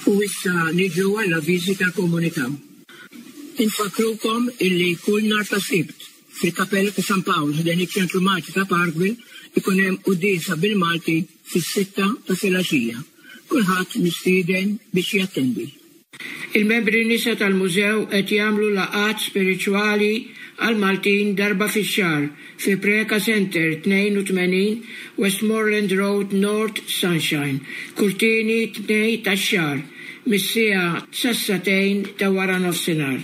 U issa niġu għall-avviżi tal-komunità. Infakkrukom illi kull nhar ta' Sibt fil-Kapella ta' San Pawl ħdejn iċ-Ċentru Malti ta' Parkville ikun hemm quddiesa bil-Malti fis-sitta ta' filgħaxija. Kulħadd mistieden biex jattendi. Il-membri nisa tal-Mużew qed jagħmlu laqgħat spiritwali għall-Maltin darba fix-xahar fi Preca Centre 82 Westmoreland Road North Sunshine kull tieni Tnejn tax-xahar mis-siegħa sas-sagħtejn ta' waranofsinhar.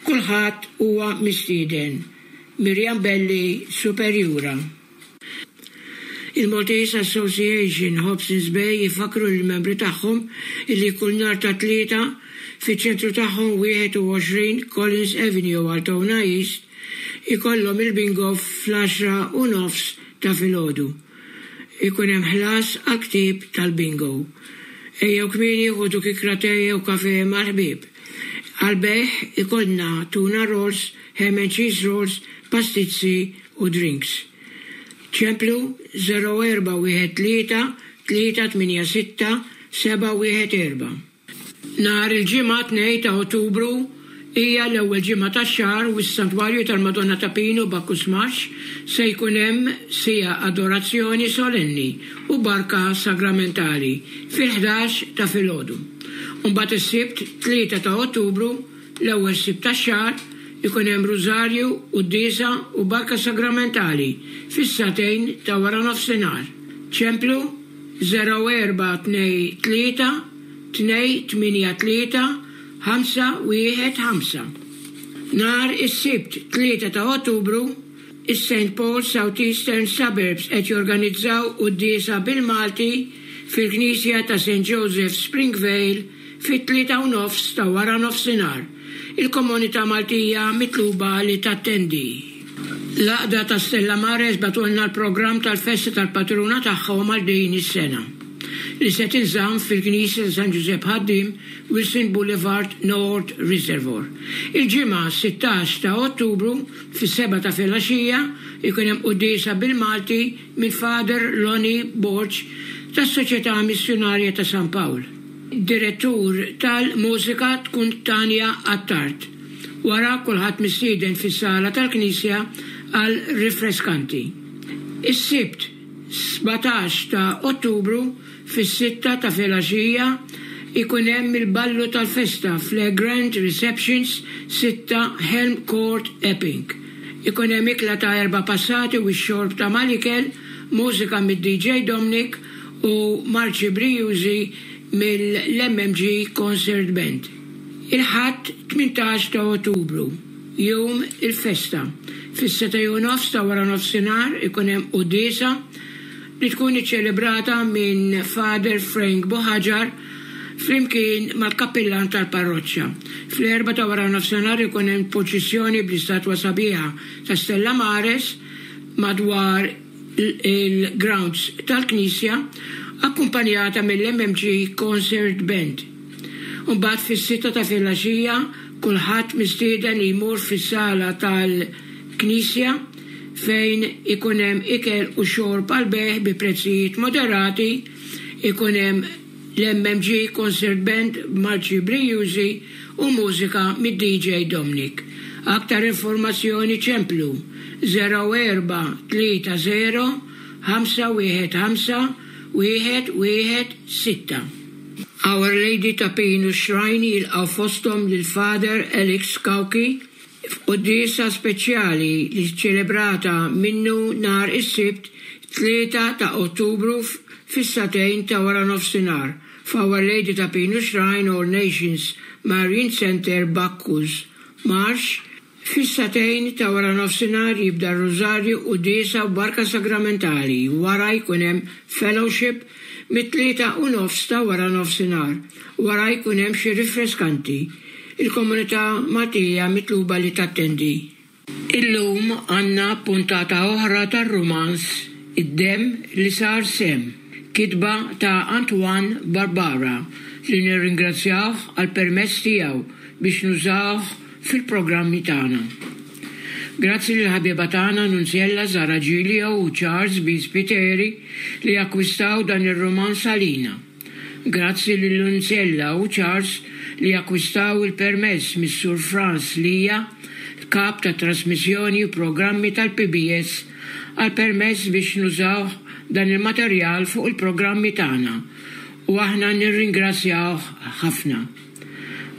Kulħadd huwa mistieden. Miriam Belli, Superjura. Il-Maltese Association Hobsons Bay ifakkru lill-membri tagħhom illi kull nhar ta' Tlieta, fiċ-ċentru tagħhom 21 Collins Avenue Altona East, ikollhom il-bingo fl-għaxra u nofs ta' filgħodu. Ikun hemm ħlas għall-ktieb tal-bingo. Ejjew kmieni ħudu kikra te jew kafè mal-ħbieb. Għall-bejgħ ikollna tuna rolls, ham and cheese rolls, pastizzi u drinks. Ċemplu 0413 386 714. Nhar il-Ġimgħa 2 ta' Ottubru hija l-ewwel ġimgħa tax-xahar u s-Santwarju tal-Madonna ta' Pinu Bacchus Marsh se jkun hemm siegħa adorazzjoni solenni u barka sagramentali fil-ħdax ta' filgħodu. U mbagħad is-Sibt 3 ta' Ottubru L-ewwel Sibt tax-xahar ikun hemm Rużarju, Quddiesa u Barka Sagramentali fis-sagħtejn ta' waranofsinhar. Ċemplu 0423 283 515. Nhar is-Sibt 3 ta' Ottubru, Is-Saint Paul South Eastern Suburbs qed jorganizzaw quddiesa bil-Malti fil-Knisja ta' Saint Joseph Springvale fit-tlieta u nofs ta' wara nofsinhar. Il-komunità Maltija mitluba li tattendi. L-Għaqda ta' Stella Maris bagħtulna l-programm tal-festa tal-patruna tagħhom għal din is-sena, li se tinżamm fil-Knisja ta' San Ġużepp Ħaddiem, Wilson Boulevard, North Reservoir. Il-Ġimgħa 16 ta' Ottubru Fis-sebgħa ta' filgħaxija jkun hemm quddiesa bil-Malti minn Father Lonnie Borg tas-Soċjetà Missjunarja ta' San Pawl. Direttur tal-mużika tkun Tania Attard. Wara kulħadd mistieden fis-sala tal-knisja għal rifreskanti. Is-Sibt 17 ta' Ottubru Fis-sitta ta' filgħaxija jkun hemm il-ballu tal-festa f'Le Grand Receptions, 6 Helm Court, Epping. Ikun hemm ikla ta' erba' passati u x-xorb ta' mal-ikel, mużika mid-DJ Dominic u marċi brijużi mill-MMG Concert Band. Il-Ħadd 18 ta' Ottubru, jum il-festa, fis-setgħa u nofs ta' waranofsinhar ikun hemm quddiesa, li tkun iċċelebrata minn Father Frank Buhagiar flimkien mal-kappillan tal-parroċċa. Fl-erbgħa ta' waranofsinhar ikun hemm purċissjoni bl-istatwa sabiħa ta' Stella Maris madwar il-grounds tal-knisja akkumpanjata mill-MMG Concert Band. Imbagħad fis-sitta ta' filgħaxija kulħadd mistieden li jmur fis-sala tal-knisja fejn ikun hemm ikel u xorb għall-bejgħ bi prezzijiet moderati, ikun hemm l-MMG Concert Band b'marċi brijużi u mużika mid-DJ Dominic. Aktar informazzjoni ċemplu 0430 515 116. Our Lady ta' Pinu Shrine jilqgħu fosthom lil Father Alex Cauchi, F'quddiesa speċjali li ċċelebrata minnu nhar is-Sibt 3 ta' Ottubru fis-sagħtejn ta' waranofsinhar f'Our Lady ta' Pinu Shrine All Nations Marian Centre Bacchus Marsh, fis-sagħtejn ta' waranofsinhar jibda r-Rużarju quddiesa u Barka Sagramentali wara jkun hemm fellowship mit-tlieta u nofs ta' waranofsinhar wara jkun hemm xi rifreskanti. Il-komunità Maltija mitluba li tattendi. Illum għandna puntata oħra tar-rumanz Id-Demm li Sar Semm, kitba ta' Antoine Barbara li nirringrazzjawh għall-permess tiegħu biex nużawh fil-programmi tagħna. Grazzi lill-ħabieba tagħna Nunziella Zara Giglio u Charles B. Spiteri li akkwistaw dan ir-rumanz għalina. Grazzi lil Lunzella u Charles li akkwistaw il-permess mis-Sur Frans Lia, l-Kap tat-Trasmissjoni u Programmi tal-PBS għall-permess biex nużawh dan il-materjal fuq il-programmi tagħna u aħna nirringrazzjawh ħafna.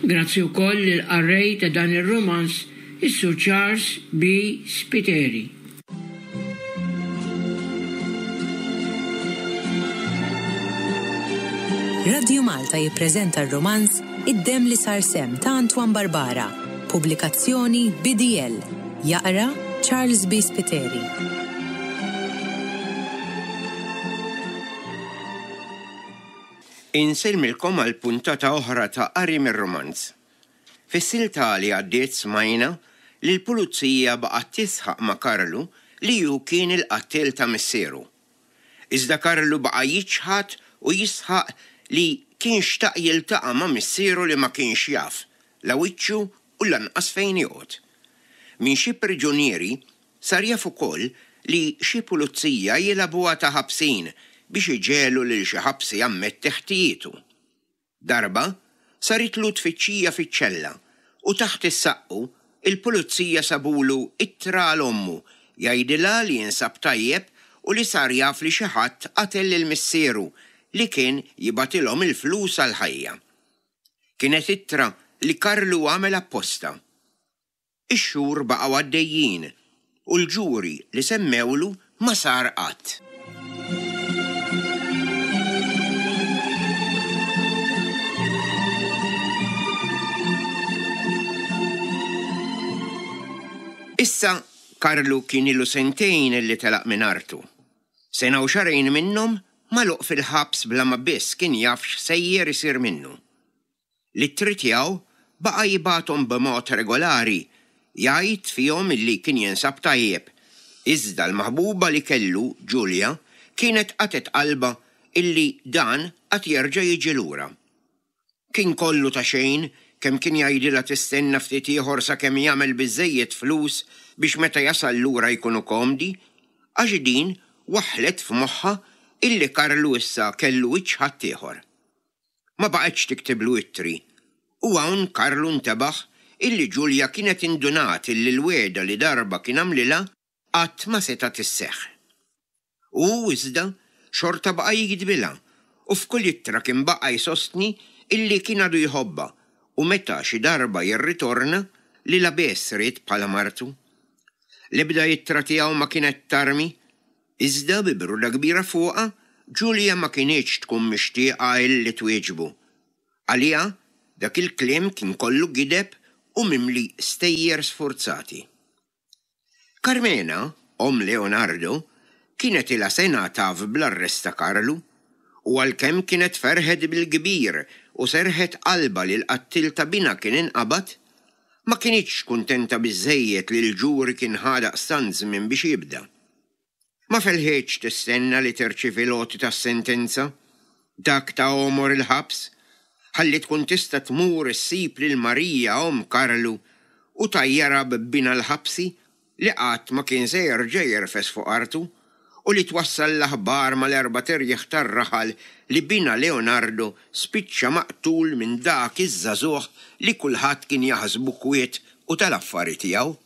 Grazzi wkoll lill-qarrej ta' dan ir-rumanz is-Sur Charles B. Spiteri. Radju Malta jippreżenta r-rumanz Id-Demm li Sar Semm ta' Antoine Barbara, pubblikazzjoni BDL. Jaqra Charles B. Spiteri. Insellmilkom għal puntata oħra ta' Qari mir-Rumanz. Fis-silta li għaddiet smajna li l-pulizija baqgħet tisħaq ma' Karlu li hu kien il-qattiel ta' missieru. Iżda Karlu baqa' jiċħad u jisħaq li kien xtaq jiltaqa' ma' missieru li ma kienx jaf la wiċċu u lanqas fejn joqgħod. Minn xi priġunieri sar jaf ukoll li xi pulizija jilagħbuha ta' ħabsin biex iġegħlu lil xi ħabsi jammetti ħtijietu. Darba, saritlu tfittxija fiċ-ċella u taħt is-saqqu il-pulizija sabulu ittra għal ommu jgħidilha li jinsab tajjeb u li sar jaf li xi ħadd qatel lil missieru li kien jibgħatilhom il-flus għall-ħajja. Kienet ittra li Karlu għamel apposta. Ix-xhur baqgħu għaddejjin u l-ġuri li semmewlu ma sar qatt. Issa Karlu kien ilu sentejn li telaq minn artu. Sena u xahrejn minnhom magħluq fil-ħabs bla ma biss kien jaf x'sejjer isir minnu. L-ittri tiegħu baqa' jibgħathom b'mod regolari, jgħid fihom illi kien jinsab tajjeb, iżda l-maħbuba li kellu, Julia, kienet qatgħet qalbha illi dan għad jerġa' jiġi lura. Kien kollu ta' xejn kemm kien jgħidilha tistenna ftit ieħor sakemm jagħmel biżżejjed flus biex meta jasal lura jkunu komdi, għax din waħħlet f'moħħha illi Karlu issa kellu wiċċ ħaddieħor. Ma baqgħetx tiktiblu ittri. U hawn Karlu ntebaħ illi Ġulja kienet indunat illi l-wegħda li darba kien għamlilha qatt ma setgħet isseħħ. Hu, iżda, xorta baqa' jiktbilha u f'kull ittra kien baqa' jsostni illi kien għadu jħobbha u meta xi darba jirritorna lilha biss ried bħala martu. L-ebda ittra tiegħu ma kienet tarmi Iżda bi bruda kbira fuqha, Julia ma kinitx tkun mixtieqa illi twieġbu. Għaliha, dak il-kliem kien kollu gideb u mimli stejjer sfurzati. Carmena, omm Leonardo, kienet ilha sena taf bl-arrest ta' Karlu, u għalkemm kienet ferħet bil-kbir u serrħet qalbha li l-qattiel ta' binha kien inqabad, ma kinitx kuntenta biżżejjed li l-ġuri kien ħa daqstant żmien biex jibda. Ma felħitx tistenna li tirċievi l-għoti tas-sentenza, dak ta' għomor il-ħabs, ħalli tkun tista' tmur issib lil Marija omm Karlu u tgħajjarha b'binha l-ħabsi li qatt ma kien se jerġa' jirfes fuq artu u li twassal l-aħbar mal-erbat irjieħ tar-raħal li binha Leonardo spiċċa maqtul minn dak iż-żagħżugħ li kulħadd kien jaħsbu kwiet u tal-affari tiegħu.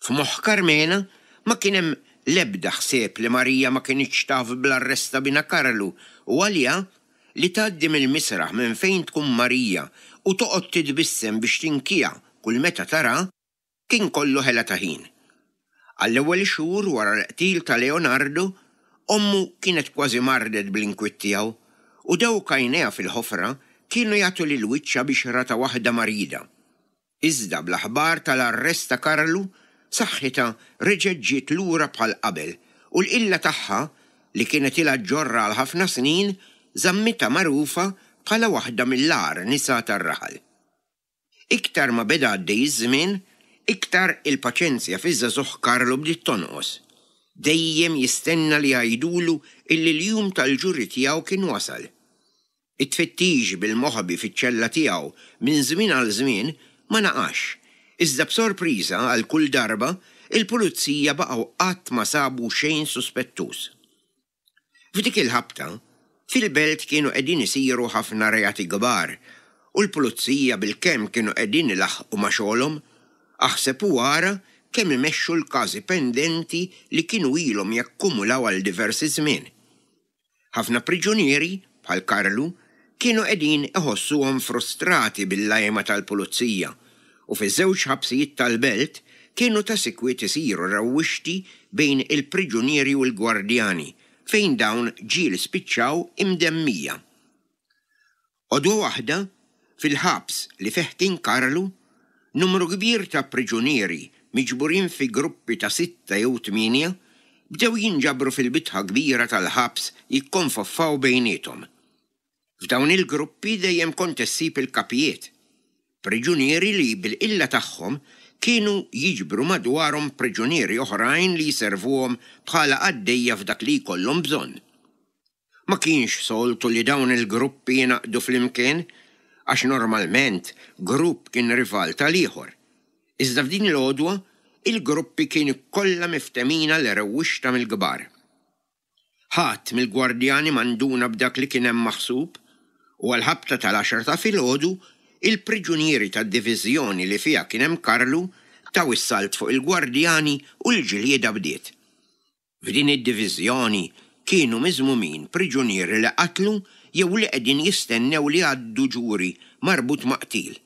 F'moħħ Karmena ma kien hemm l-ebda ħsieb li Marija ma kinitx taf bl-arrest ta' binha Karlu u għaliha, li tgħaddi mill-misraħ minn fejn tkun Marija u toqgħod titbissem biex tinkiha kull meta taraha, kien kollu ħela ta' ħin. Għall-ewwel xhur wara l-qtil ta' Leonardo, ommu kienet kważi mardet bl-inkwiet tiegħu u dawk għajnejha fil-ħofra kienu jagħtu lil wiċċha bixra ta' waħda marida. Iżda bl-aħbar tal-arrest ta' Karlu, saħħitha reġgħet ġiet lura bħal qabel u l-qilla tagħha, li kienet ilha ġġorrha għal ħafna snin, żammitha magħrufa bħala waħda mill-agħar nisa tar-raħal. Iktar ma beda għaddej iż-żmien, iktar il-paċenzja fiż-żagħżugħ Karlu bdiet tonqos. Dejjem jistenna li jgħidulu illi l-jum tal-ġuri tiegħu kien wasal. It-tfittix bil-moħbi fiċ-ċella tiegħu minn żmien għal żmien ma naqasx, iżda b'sorpriża għal kull darba, il-pulizija baqgħu qatt ma sabu xejn suspettuż. F'dik il-ħabta, Fil-belt kienu qegħdin isiru ħafna reati kbar u l-pulizija bilkemm kienu qegħdin ilaħħqu ma' xogħolhom, aħseb u ara kemm imexxu l-każi pendenti li kienu ilhom jakkumulaw għal diversi żmien. Ħafna priġunieri, bħal Karlu, kienu qegħdin iħossuhom frustrati bil-lajma tal-pulizija u fiż-żewġ ħabsijiet tal-belt kienu ta' sikwit isiru rewwixti bejn il-priġunieri u l-gwardjani fejn dawn ġieli spiċċaw imdemmija. Għodwa waħda, fil-ħabs li fih kien Karlu, numru kbir ta' priġunieri miġburin fi gruppi ta' sitta jew tmienja bdew jinġabru fil-bitħa kbira tal-ħabs jikkonfoffaw bejniethom. F'dawn il-gruppi dejjem kont issib il-kapijiet, priġunieri li bil-qilla tagħhom kienu jiġbru madwarhom priġunieri oħrajn li jservuhom bħala qaddejja f'dak li jkollhom bżonn. Ma kienx soltu li dawn il-gruppi jingħaqdu flimkien għax normalment grupp kien rival tal-ieħor. Iżda f'din l-għodwa, il-gruppi kienu kollha miftehmin għal rewwixta mill-kbar. Ħadd mill-gwardjani ma nduna b'dak li kien hemm maħsub, u għall-ħabta tal-għaxra ta' filgħodu, il-priġunieri tad-diviżjoni li fiha kien hemm Karlu taw is-salt fuq il-gwardjani u l-ġlieda bdiet. F'din id-diviżjoni kienu miżmumin priġunieri li qatlu jew li qegħdin jistennew li jgħaddu ġuri marbut ma' qtil.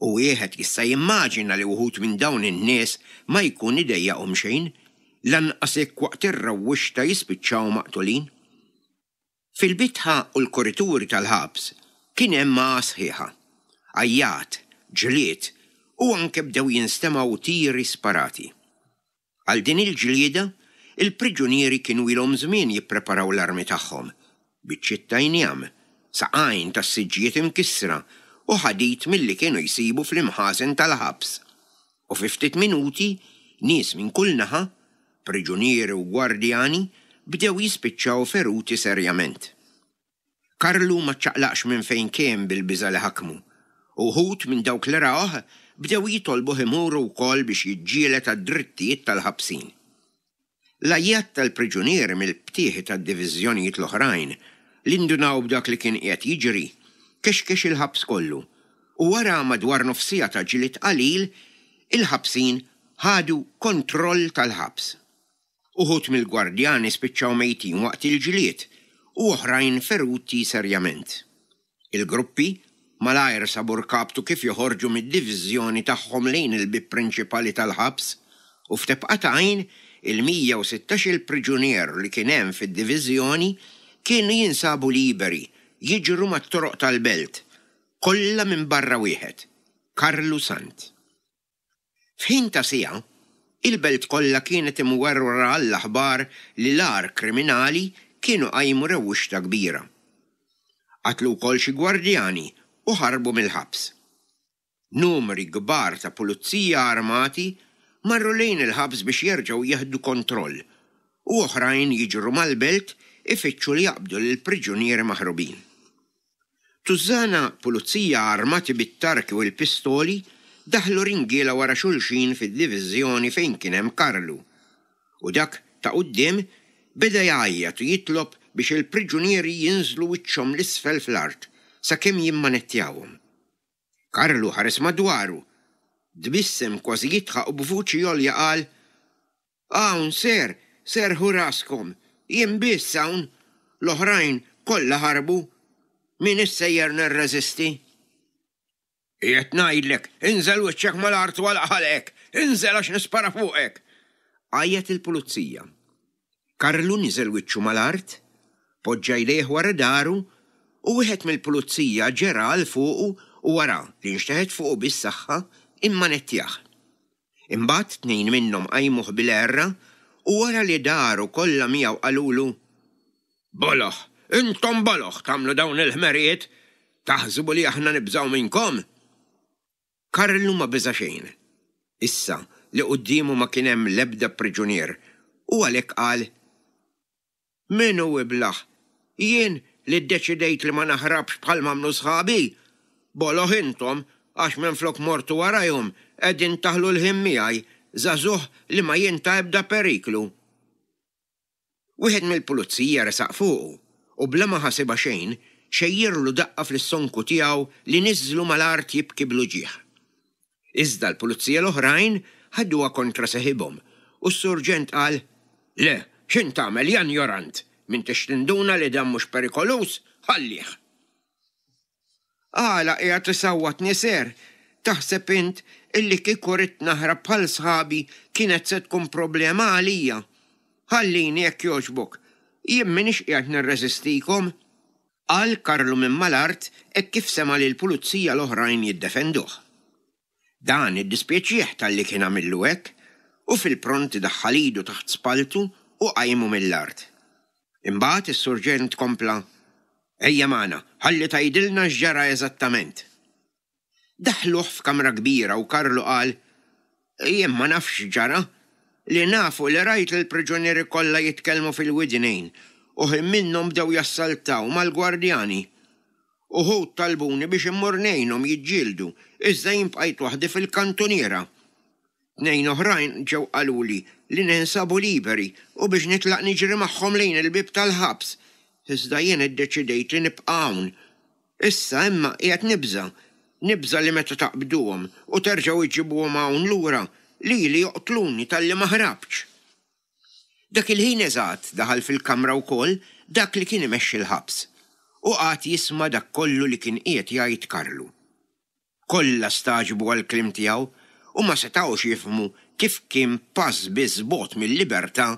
U wieħed jista' jimmaġina li wħud minn dawn in-nies ma jkun idejjaqhom xejn, lanqas jekk waqt ir-rewwixta jispiċċaw maqtulin. Fil-bitħa u l-kurituri tal-ħabs kien hemm għagħa sħiħa. Għajjat, ġlied u anke bdew jinstemgħu tiri sparati. Għal din il-ġlieda, il-priġunieri kienu ilhom żmien jippreparaw l-armi tagħhom, biċċiet ta' injam, saqajn tas-siġġijiet imkissra u ħadid milli kienu jsibu fl-imħażen tal-ħabs. U fi ftit minuti, nies minn kull naħa, priġunieri u gwardjani, bdew jispiċċaw feruti serjament. Karlu ma ċċaqlaqx minn fejn kien bil-biża' li ħakmu, u wħud minn dawk li rawh bdew jitolbuh imur hu wkoll biex jiġġieled għad-drittijiet tal-ħabsin. L-għajjat tal-priġunieri mill-btieħi tad-diviżjonijiet l-oħrajn, li ndunaw b'dak li kien qiegħed jiġri, kexkex il-ħabs kollu, u wara madwar nofs siegħa ta' ġlied qalil, il-ħabsin ħadu kontroll tal-ħabs. Uħud mill-gwardjani spiċċaw mejtin waqt il-ġlied u oħrajn feruti serjament. Il-gruppi malajr sabu rkabtu kif joħorġu mid-diviżjoni tagħhom lejn il-bieb prinċipali tal-ħabs u f'tebqa ta' għajn il-116-il priġunier li kien hemm fid-diviżjoni kienu jinsabu liberi jiġru mat-toroq tal-belt, kollha minbarra wieħed, Karlu Sant. F'ħin ta' siegħa, il-belt kollha kienet imwerwra għall-aħbar li l-agħar kriminali kienu qajmu rewwixta kbira. Qatlu wkoll xi gwardjani u ħarbu mill-ħabs. Numri kbar ta' pulizija armati marru lejn il-ħabs biex jerġgħu jieħdu kontroll u oħrajn jiġru mal-belt ifittxu li jaqbdu lill-priġunieri maħrubin. Tużżana pulizija armati bit-tarki u l-pistoli daħlu ringiela wara xulxin fid-diviżjoni fejn kien hemm Karlu, u dak ta' quddiem beda jgħajjat u jitlob biex il-priġunieri jinżlu wiċċhom 'l isfel fl-art sakemm jimmanettjawhom. Karlu ħares madwaru, tbissem kważi jidħaq u b'vuċi għolja qal, Hawn, sir, serrħu raskom, jien biss hawn, l-oħrajn kollha ħarbu. M'iniex sejjer nirreżisti. Qiegħed ngħidlek, inżel wiċċek mal-art u għalaq ħalqek, inżel għax nispara fuqek! Għajjat il-pulizija. Karlu niżel wiċċu mal-art, poġġa jdejh wara dahru u wieħed mill-pulizija ġera għal fuqu u wara li nxteħet fuqu bis-saħħa, immanettjah. Imbagħad tnejn minnhom qajmuh bil-għerra u wara li daru kollha miegħu qalulu, Boloh! Intom boloh tagħmlu dawn il-ħmerijiet! Taħsbu li aħna nibżgħu minnkom? Karlu ma beża' xejn, issa li quddiemu ma kien hemm l-ebda priġunier, u għalhekk qal, Min hu iblah? Jien li ddeċidejt li ma naħrabx bħal m'għamlu sħabi? Boloh intom għax minflok mortu warajhom qegħdin taħlu l-ħin miegħi, żagħżugħ li ma jien ta' ebda periklu. Wieħed mill-pulizija resaq fuqu. U bla ma ħasibha xejn, xejjirlu daqqa fl-istonku tiegħu li niżżlu mal-art jibki bl-uġigħ. Iżda l-pulizija l-oħrajn ħaduha kontra seħibhom u s-surġent qal, Le, x'int tagħmel, ja njorant? M'intix tinduna li dan mhux perikoluż? Ħallih! Għala qiegħed isawwatni ser? Taħseb int illi kieku ridt naħrab bħal sħabi kienet se tkun problema għalija? Ħallini jekk jogħġbok. Jien m'iniex qiegħed nirreżistikom. Qal Karlu minn mal-art hekk kif sema' lill-pulizija l-oħrajn jiddefenduh. Dan iddispjaċih talli kien għamillu hekk u fil-pront daħħal idu taħt spalltu u qajmu mill-art. Imbagħad is-surġent kompla, Ejja magħna, ħalli tgħidilna x'ġara eżattament. Daħħluh f'kamra kbira u Karlu qal, Jien ma nafx x'ġara. Li naf hu li rajt lill-priġunieri kollha jitkellmu fil-widnejn u ħin minnhom bdew jassaltaw mal-gwardjani. Uħud talbuni biex immur ngħinhom jiġġieldu, iżda jien bqajt waħdi fil-kantuniera. Tnejn oħrajn ġew qaluli li ninsabu liberi u biex nitlaq niġri magħhom lejn il-bieb tal-ħabs, iżda jien iddeċidejt li nibqa' hawn. Issa imma qiegħed nibża', nibża' li meta taqbduhom u terġgħu iġġibuhom hawn lura, lili joqtluni talli ma ħrabtx. Dak il-ħin eżatt daħal fil-kamra wkoll dak li kien imexxi l-ħabs u qagħad jisma' dak kollu li kien qiegħed jgħid Karlu. Kollha stagħġbu għall-kliem tiegħu u ma setgħux jifhmu kif kien pass biss bogħod mil-libertà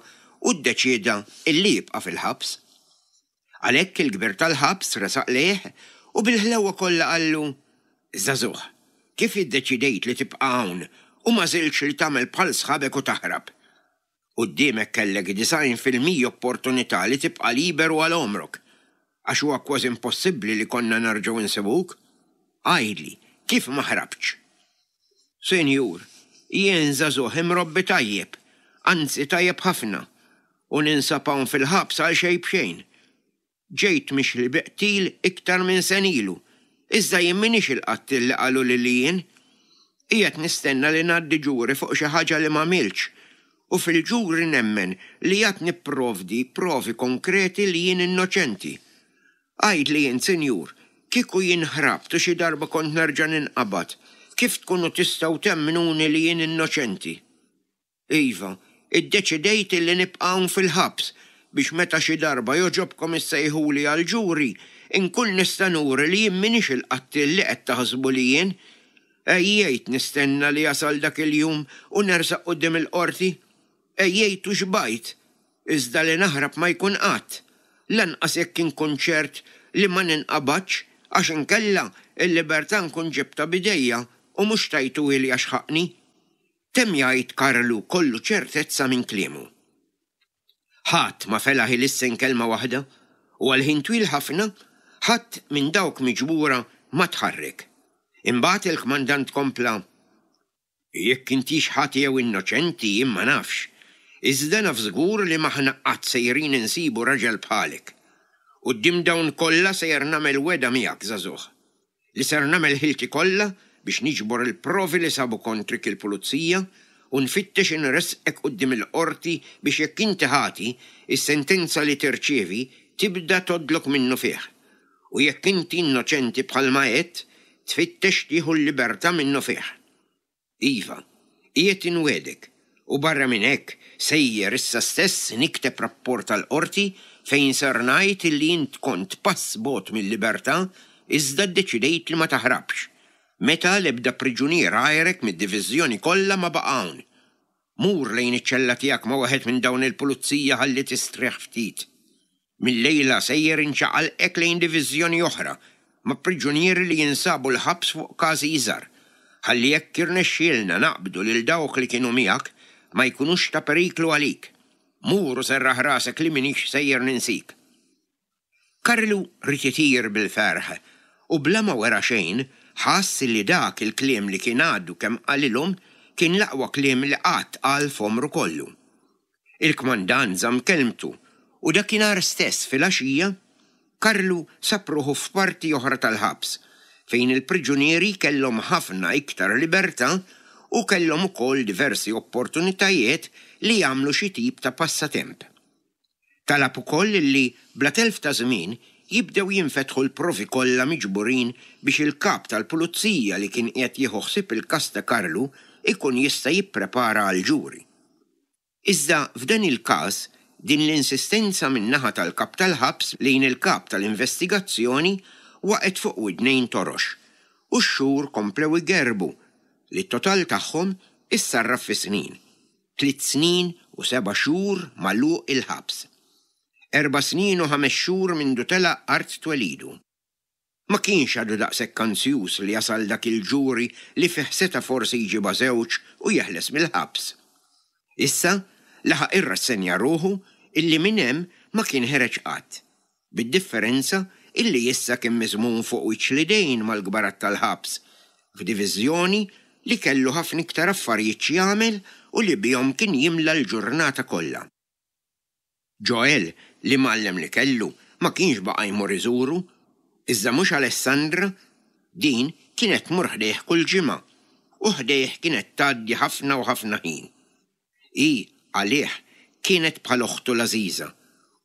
u ddeċieda illi jibqa' fil-ħabs. Għalhekk il-kbir tal-ħabs resaq lejh u bil-ħlewwa kollha qallu, Żagħżugħ, kif iddeċidejt li tibqa' hawn u m'għażiltx li tagħmel bħal sħabek u taħrab? Quddiemek kellek 90% opportunità li tibqa' liberu għal għomrok, għax huwa kważi impossibbli li konna nerġgħu nsibuk. Għidli, kif ma ħrabtx? Sinjur, jien żagħżugħ imrobbi tajjeb, anzi tajjeb ħafna, u ninsab hawn fil-ħabs għal xejn b'xejn. Ġejt mixli bi qtil iktar minn sena ilu, iżda jien m'iniex il-qattiel li qaluli li jien. Qiegħed nistenna li ngħaddi ġuri fuq xi ħaġa li m'għamiltx, u fil-ġuri nemmen li għad nipprovdi provi konkreti li jien innoċenti. Għidli int, sinjur, kieku jien ħrabt u xi darba kont nerġa' ninqabad, kif tkunu tistgħu temmnuni li jien innoċenti? Iva, iddeċidejt illi nibqa' hawn fil-ħabs biex meta xi darba jogħġobkom issejħuli għall-ġuri, inkun nista' nuri li jien m'iniex il-qattiel li qed taħsbu li jien. Għejjejt nistenna li jasal dak il-jum u nersaq quddiem il-qorti. Għejjejt u xbajt. Iżda li naħrab ma jkun qatt. Lanqas jekk inkun ċert li ma ninqabadx għax inkella l-libertà nkun ġibtha b'idejja u mhux tajtuhieli għax ħaqqni. Temm jgħid Karlu kollu ċertezza minn kliemu. Ħadd ma felaħ ilissen kelma waħda u għal ħin twil ħafna ħadd minn dawk miġbura ma tħarrek. Imbagħad il-kmandant kompla, Jekk intix ħati jew innoċenti jien ma nafx, iżda naf żgur li m'aħna qatt sejrin insibu raġel bħalek. Quddiem dawn kollha sejjer nagħmel wegħda miegħek, żagħżugħ. Li ser nagħmel ħilti kollha biex niġbor il-provi li sabu kontrik il-pulizija u nfittex inressqek quddiem il-qorti biex jekk inti ħati, is-sentenza li tirċievi tibda tgħoddlok minnufih. U jekk inti innoċenti bħalma għedt, tfittex tieħu l-libertà minnufih. Iva, qiegħed inwiegħdek, u barra minn hekk sejjer issa stess nikteb rapport għall-qorti fejn ser ngħid illi int kont pass bogħod mil-libertà iżda ddeċidejt li ma taħrabx, meta l-ebda priġunier għajrek mid-diviżjoni kollha ma baqa' hawn. Mur lejn iċ-ċella tiegħek ma' wieħed minn dawn il-pulizija ħalli tistrieħ ftit. Mil-lejla sejjer inċaqalqek lejn diviżjoni oħra ma' priġunieri li jinsabu l-ħabs fuq każi iżgħar, ħalli jekk jirnexxielna naqbdu lil dawk li kienu miegħek ma jkunux ta' periklu għalik. Mur u serraħ rasek li m'iniex sejjer ninsik. Karlu ried itir bil-ferħ u bla ma wera xejn ħass li dak il-kliem li kien għadu kemm qalilhom kien l-aqwa kliem li qatt qal f'għomru kollu. Il-kmandant żamm kelmtu u dakinhar stess filgħaxija, Karlu sab ruħu f'parti oħra tal-ħabs fejn il-priġunieri kellhom ħafna iktar libertà u kellhom ukoll diversi opportunitajiet li jagħmlu xi tip ta' passatemp. Talab ukoll li bla telf ta' żmien jibdew jinfetħu l-provi kollha miġburin biex il-Kap tal-Pulizija li kien qiegħed jieħu ħsieb il-każ ta' Karlu jkun jista' jipprepara għall-ġuri. Iżda f'dan il-każ din l-insistenza min-naħa tal-Kap tal-Ħabs lejn il-Kap tal-Investigazzjoni waqgħet fuq widnejn torox u x-xhur komplew igerrbu li t-total tagħhom issarraf fi snin. Tliet snin u seba' xhur magħluq il-ħabs. Erba' snin u ħames xhur mindu telaq art twelidu. Ma kienx għadu daqshekk anzjuż li jasal dak il-ġuri li fih seta' forsi jġibha żewġ u jeħles mill-ħabs. Issa laħaq irrassenja ruħu illi minn hemm ma kien ħereġ qatt, bid-differenza illi issa kien miżmum fuq wiċċ l-idejn mal-kbarat tal-ħabs, f'diviżjoni li kellu ħafna iktar affarijiet x'jagħmel u li bihom kien jimla l-ġurnata kollha. Joel, l-imgħallem li kellu, ma kienx baqa' jmur iżuru, iżda mhux Alessandra, din kienet tmur ħdejh kull ġimgħa, u ħdejh kienet tgħaddi ħafna u ħafna ħin. Hi, għalih, kienet bħal oħtu l-għażiża,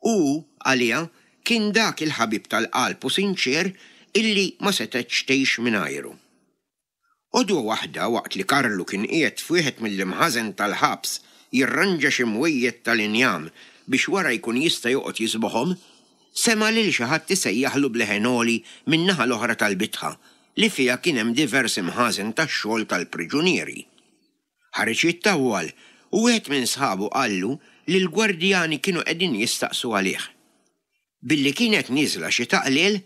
u hu, għaliha, kien dak il-ħabib tal-qalb u sinċier illi ma setgħetx tgħix mingħajru. Għodwa waħda waqt li Karlu kien qiegħed f'wieħed mill-imħażen tal-ħabs jirranġa xi mwejjed tal-injam biex wara jkun jista' joqgħod jiżboħhom, sema' lil xi ħadd isejjaħlu b'leħen għoli min-naħa l-oħra tal-bitħa li fiha kien hemm diversi mħażen tax-xogħol tal-priġunieri. Ħareġ jittawwal u wieħed minn sħabu qallu li l-gwardjani kienu qegħdin jistaqsu għalih. Billi kienet nieżla xita qliel,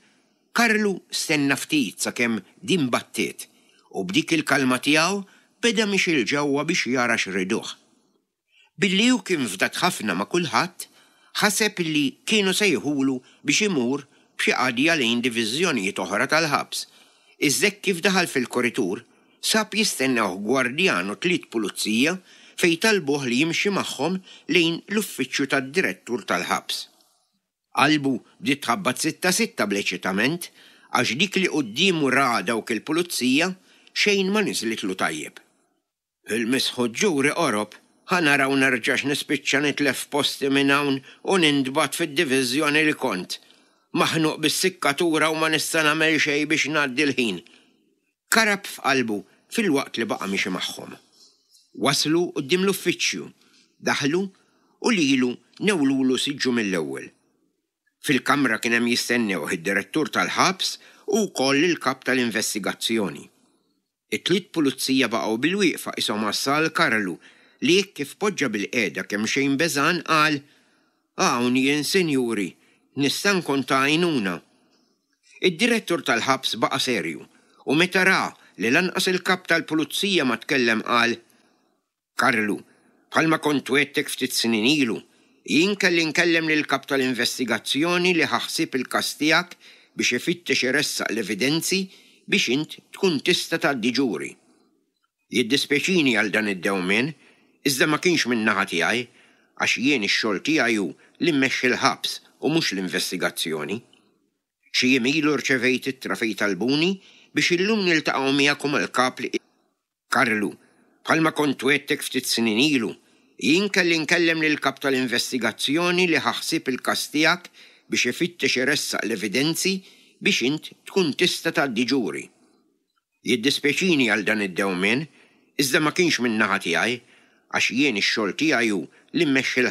Karlu stenna ftit sakemm din battiet u b'dik il-kalma tiegħu beda miexi 'l ġewwa biex jara x'riduh. Billi hu kien fdat ħafna ma' kulħadd, ħaseb li kienu sejħulu biex imur b'xi qadja lejn diviżjonijiet oħra tal-ħabs, iżda hekk kif daħal fil-kuritur, sab jistennewh gwardjan u tliet pulizija fejn talbuh li jimxi magħhom lejn l-uffiċċju tad-direttur tal-ħabs. Qalbu bdiet tħabbat sitta sitta bl-eċitament għax dik li quddiemu ra dawk il-pulizija xejn ma niżlitlu tajjeb. Il-misħut ġuri qorob, ħa naraw nerġax nispiċċa nitlef posti minn hawn u nintbagħat fid-diviżjoni li kont. Maħnuq bis-sikkatura u ma nista' nagħmel xejn biex ngħaddi l-ħin. Karab f'qalbu filwaqt li baqa' miexi magħhom. Waslu quddiem l-uffiċċju, daħlu u lilu newlulu siġġu mill-ewwel. Fil-kamra kien hemm jistennewh id-direttur tal-ħabs u wkoll il-kap tal-investigazzjoni. It-tliet pulizija baqgħu bilwieqfa qishom għassa għal Karlu li hekk kif poġġa bilqiegħda kemxejn beżgħan qal, Hawn jien sinjuri, nista' nkun ta' għajnuna. Id-direttur tal-ħabs baqa' serju u meta ra li lanqas il-kap tal-pulizija ma tkellem qal, Karlu, bħalma kont wegħdtek ftit snin ilu, jien kelli nkellem lill-kap tal-investigazzjoni li ħa ħsieb il-każ tiegħek biex ifittex iressaq l-evidenzi biex int tkun tista' tgħaddi ġuri. Jiddispjaċini għal dan id-dewmien, iżda ma kienx min-naħa tiegħi, għax jien ix-xogħol tiegħi hu li mmexxi l-ħabs u mhux l-investigazzjoni. Xi jiem ilu rċevejt ittra fejn talbuni biex illum niltaqgħu miegħek u mal-kap li Karlu, bħalma kont wegħdtek ftit snin ilu, jien kelli nkellem lill-kap tal-investigazzjoni li ħa ħsieb il-każ tiegħek biex ifittex iressaq l-evidenzi biex int tkun tista' tgħaddi ġuri. Jiddispjaċini għal dan id-dewmien, iżda ma kienx min-naħa tiegħi, għax jien ix-xogħol tiegħi hu li mmexxi l.